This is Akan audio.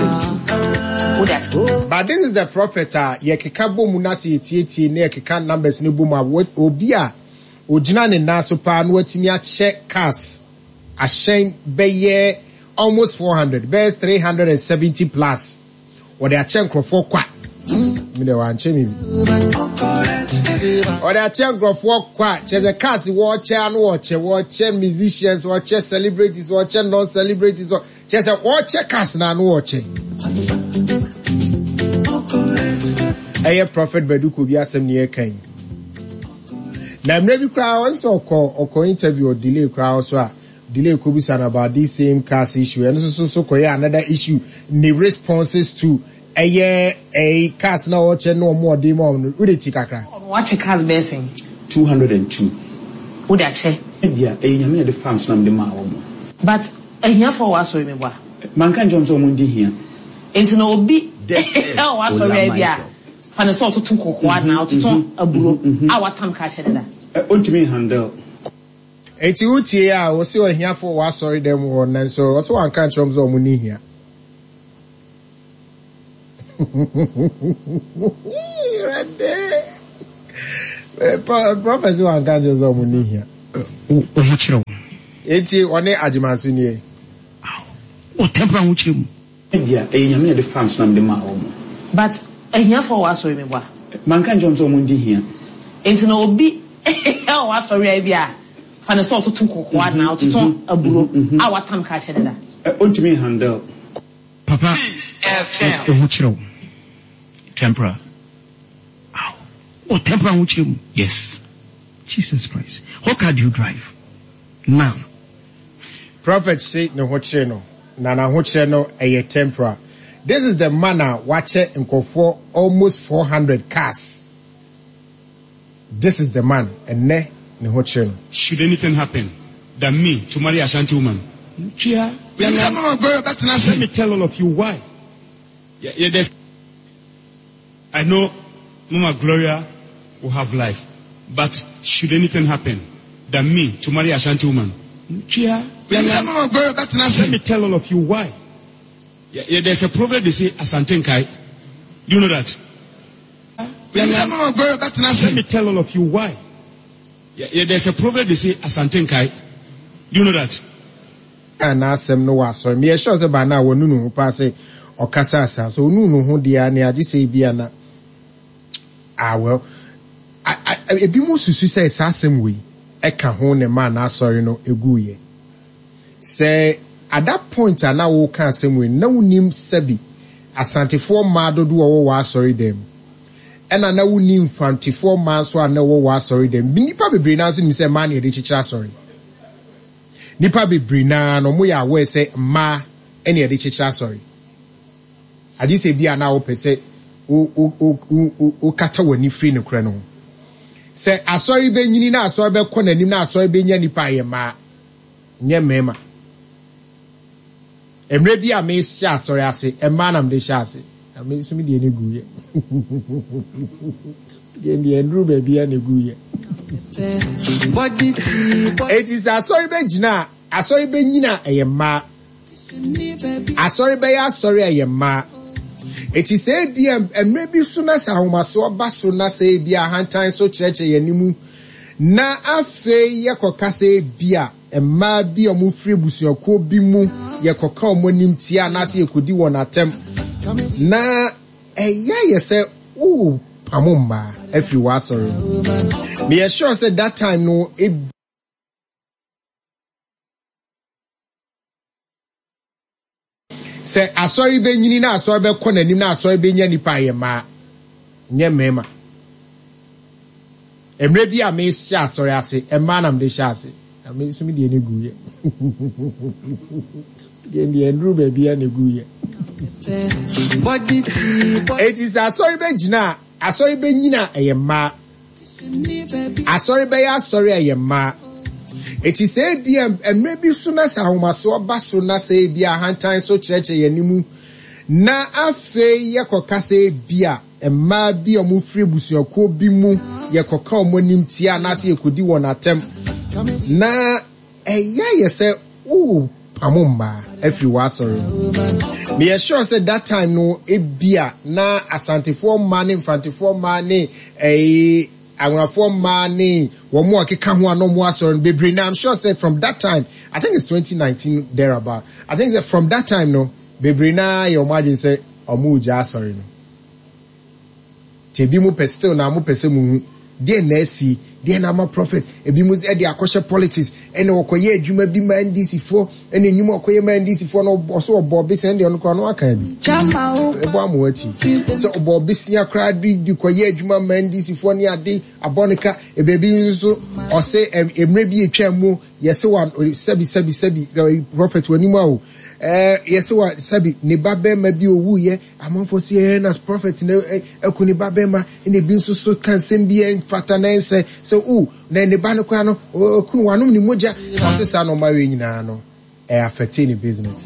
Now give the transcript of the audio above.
202. Wode akyɛ. But this is the prophet a yɛkeka bɔ mu na sɛ yɛtietie na yɛkeka numbers no bɔ mu a, obi a ogyina ne nan so paa na watumi akyɛ cars ahyɛn bɛyɛ almost 400, bɛyɛ 370 plus. Wɔde akyɛ nkurɔfoɔ kwa. Me deɛ wankyɛ me bi. Wɔde akyɛ nkurɔfoɔ kwa. Kyɛ sɛ cars wɔkyɛ ano wɔkyɛ, wɔkyɛ musicians, wɔkyɛ celebrities, wɔkyɛ non-celebrities. Kyɛ sɛ wɔkyɛ cars na ano wɔkyɛ. Ɛyɛ Prophet Badu Kobi asɛm ne yɛka yi. Na mmerɛ bi koraa wɔn sɛ ɔkɔ ɔkɔ interview ɔdelay koraa so a Delay kobisa no about this same cars issue ɛno nso so kɔyɛ another issue ne responses to ɛyɛ ɛyi cars na ɔkyɛ ne ɔmo ɔde ma ɔmo no wode ti kakra. Ɔno wakyɛ cars bɛyɛ sɛn? 202. Wode akyɛ. Ebia ɛyɛ Nyame na ɛde faa me so na mede maa wɔn. But ahiafoɔ wɔ w'asɔre mu boa? Manka nkyerɛ wɔn sɛ wɔn ndi hia. Nti no obi This is wɔ w'asɔre Ola a ebia Michael. fa no sɛ ɔtoto kɔkɔɔ anaa ɔtoto aburo a watam ka akyɛ deda. Ontumi nhandle. Enti wotie a, wɔse ahiafo wɔ w'asɔre dan mu hɔ, nanso ɔse wanka ankyerɛ wɔn sɛ wɔn nni hia. Awurade! Prɔfɛt se wanka ankyerɛ sɛ wɔn nni hia. Wo ho kyerɛ wo. Enti ɔne Agyemanso nie. Wɔ tɛmpol ahokyerɛ mu. Ebia ɛyɛ Nyame na ɛde faa me so na mede maa wɔn. But ahiafoɔ wɔ w'asɔre mu boa? Manka nkyerɛ wɔn sɛ wɔn ndi hia. Nti no obi wɔ w'asɔre a ebia fa no sɛ ɔtoto kɔkɔɔ anaa ɔtoto aburo a watam ka akyɛ deda. Ontumi nhandle. Papa wo ho kyerɛ wo. Tempera. Aw wɔ tempera ahokyerɛ mu. Yes. Jesus Christ what car do you drive now? Prophet se ne ho kyere no na n'ahokyerɛ no ɛyɛ temporal. This is the man a wakyɛ nkurɔfoɔ almost 400 cars. This is the man ɛnnɛ ne ho kyere no. Should anything happen than me to marry Ashanti woman? Chia, Let me tell all of you why. Yeah, yeah, there's, I know Mama Gloria will have life, but should anything happen than me to marry Ashanti woman? Chia, Let me tell all of you why. Yeah, yeah, there's a proverb they say Asante Nkai. Do you know that? Let me tell all of you why. Yeah, yeah, there's a proverb they say Asante Nkai. Do you know that? Kaa n'asɛm no wɔ asɔre. Meyɛ sure sɛ by now wanu ne ho paa sɛ ɔkasaa saa. Sɛ onuu ne ho deɛ a, nea agye sɛ ebia na ah well. I, I, ebinom susu sɛ saa asɛm wei ɛka ho na ɛmaa n'asɔre no eguiɛ. Sɛ at that point a na woka asɛm wei no, na wonim sɛbi Asantefoɔ mmaa dodoɔ a wɔwɔ w'asɔre dan mu. Ɛna na wonim Mfantefoɔ mmaa nso a na wɔwɔ w'asɔre dan mu. Nnipa bebree naa nso nim sɛ mmaa na yɛde kyekyere asɔre. Nnipa bebree no ara no, wɔyɛ aware sɛ mmaa na yɛde kyekyere asɔre. Agye sɛ bi a na wopɛ sɛ wokata w'ani firi nokorɛ no ho. Sɛ asɔre bɛnyini na asɔre bɛkɔ n'anim na asɔre bɛnya nnipa a, ɛyɛ mmaa, nyɛ mmarima. Mmerɛ bi a mehyɛ asɔre ase, mmaa na mede hyɛ ase. Na me nso me deɛ no guiɛ. Deɛ deɛ nnuru baabi a na ɛguiɛ. Enti sɛ asɔre bɛgyina a, asɔre bɛnyina a, ɛyɛ mmaa. Asɔre bɛyɛ asɔre a, ɛyɛ mmaa. Enti sɛ ebia mmerɛ bi so na sɛ ahomasoɔ ba so na sɛ ebia ahantan so kyerɛkyerɛ yɛn anim na afei yɛkɔka sɛ ebia Mmaa bi a wɔfiri abusuakuo bi mu, yɛkɔka wɔn anim tia anaasɛ yɛkɔdi wɔn atɛm, na ɛyɛ ayɛ sɛ worepamo mmaa afiri w'asɔre mu. Meyɛ sure sɛ that time no, Sɛ asɔre bɛnyini na asɔre bɛkɔ n'anim na asɔre bɛnya nnipa a, ɛyɛ mmaa, nyɛ mmarima. Mmerɛ bi a mehyɛ asɔre ase, mmaa na mede hyɛ ase. Na me nso me deɛ no guiɛ. Deɛ deɛ nnuru baabi a na ɛguiɛ. Enti sɛ asɔre bɛgyina a, asɔre bɛnyini a, ɛyɛ mmaa. Asɔre bɛyɛ asɔre a ɛyɛ mmaa. Enti sɛ ebia mmerɛ bi so na sɛ ahomasoɔ ba so na sɛ ebia ahantan so kyerɛkyerɛ yɛn anim na afei yɛkɔka sɛ ebia mmaa bi a wɔfiri abusuakuo bi mu yɛkɔka wɔn anim tia anaasɛ yɛkɔdi wɔn atɛm na ɛyɛ ayɛ sɛ worepamo mmaa. afiri w'asɔre mu. Meyɛ sure sɛ that time no ebia na Asantefoɔ mmaa ne Mfantefoɔ mmaa ne ɛyi Anwonafoɔ mmaa ne wɔn a ɛkeka ho a na wɔn asɔre no bebree na I'm sure sɛ from that time I think it's 2019 there about I think sɛ from that time no bebree naa yɛ wɔn adwene sɛ wɔn regya asɔre no. Nti ebi mo pɛ still na mo pɛ sɛ mo hu deɛn na asi, deɛn na ama prophet, ebi mo de akɔhyɛ politics, ɛna ɔkɔyɛ adwuma bi ma NDC foɔ, ɛna nnwuma ɔkɔyɛ ma NDC foɔ no ɔso ɔbɔ besia ɛndeɛ ɔno koraa ɔno aka bi, ɛbɔ ama wati, sɛ ɔbɔ besia koraa bi de kɔyɛ adwuma ma NDC foɔ ne ade abɔ ne ka, ebebi nso ɔse mmerɛ bi atwa mu yɛse wa sɛbi sɛbi sɛbi prophet w'anim a o, ɛɛ yɛse wa sɛbi ne ba bɛrima bi owuiɛ Amanfoɔ se ɛɛ na prophet no aku ne ba bɛma, ɛna ebi nso so ka nsɛm bi ɛmfata na ɛnsɛ sɛ o na ne ba no koraa no ɔku no wanom ne mogya. Ɔse saa nnoɔma wei nyinaa no ɛ affecte ne business.